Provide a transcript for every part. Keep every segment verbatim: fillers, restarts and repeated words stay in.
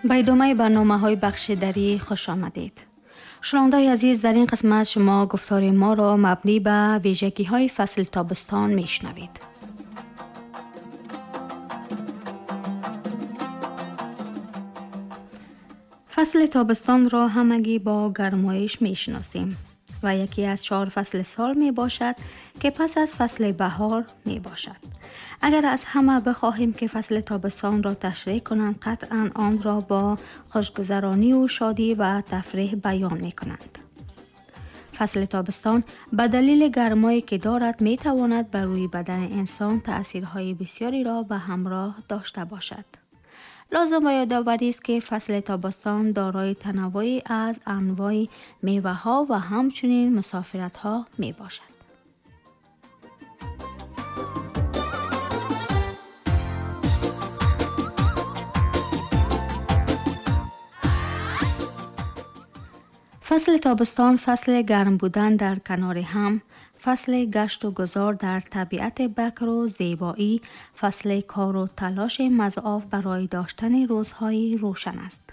Ба идомаи барномаҳои бахши дарӣ хуш омадед. Шунавандаҳои азиз, дар ин қисмат шумо гуфтори моро мабнӣ ба вижагиҳои фасли тобистон мешунавед. Фасли тобистонро ҳамагӣ бо гармоиш мешиносем ва яке аз чор фасли сол мебошад, ки пас аз фасли баҳор мебошад. Агар аз ҳама бихоҳем, ки фасли тобистонро ташриҳ кунанд, қатъан онро бо хушгузарониву шодӣ ва тафриҳ баён мекунанд. Фасли тобистон ба далели гармое ки дорад, метавонад бар рӯи бадани инсон таъсирҳои бисёреро ба ҳамроҳ дошта бошад. Лозим ба ёдоварӣ аст, ки фасли тобистон дорои танаввӯе аз анвои меваҳо ва ҳамчунин мусофиратҳо мебошад. Фасли тобистон фасли гарм будан дар канори ҳам, фасли гашту гузор дар табиати бакру зебоӣ, фасли кору талоши мазоф барои доштани рӯзҳои рӯшан аст.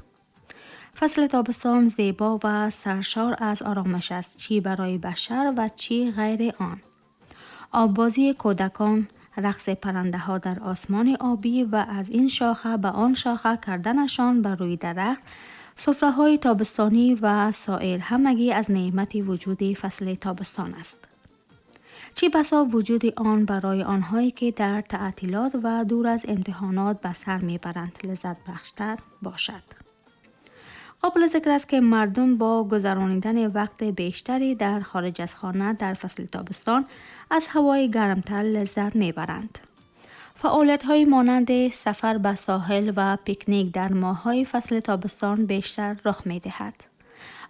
Фасли тобистон зебо ва саршор аз оромиш аст, чӣ барои башар ва чӣ ғайри он. Оббозии кӯдакон, рақси паррандаҳо дар осмони обӣ ва аз ин шоха ба он шоха карданашон бар рӯи дарахт, суфраҳои тобистонӣ ва соир ҳамагӣ аз неъмати вуҷуди фасли тобистон аст. Чӣ басо вуҷуди он барои онҳое, ки дар таътилот ва дур аз имтиҳонот ба сар мебаранд, лаззатбахштар бошад. Қобили зикр аст, ки мардум бо гузаронидани вақти бештаре дар хориҷ аз хона дар фасли тобистон аз ҳавои гармтар лаззат мебаранд. Фаъолиятҳои монанди сафар ба соҳил ва пикник дар моҳҳои фасли тобистон бештар рух медиҳад.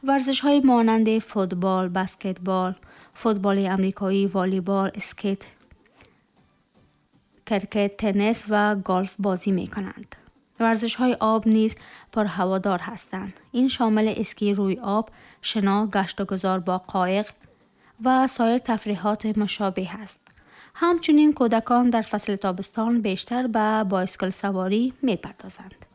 Варзишҳои монанди футбол, баскетбол, футболи амрикоӣ, волейбол, скейт, крикет, теннис ва голф бозӣ мекунанд. Варзишҳои об низ пурҳаводор ҳастанд. Ин шомили эски рӯи об, шино, гашту гузор бо қоиқ ва соир тафриҳоти мушобиҳ аст. Ҳамчунин кӯдакон дар фасли тобистон бештар ба байскилсаворӣ мепардозанд.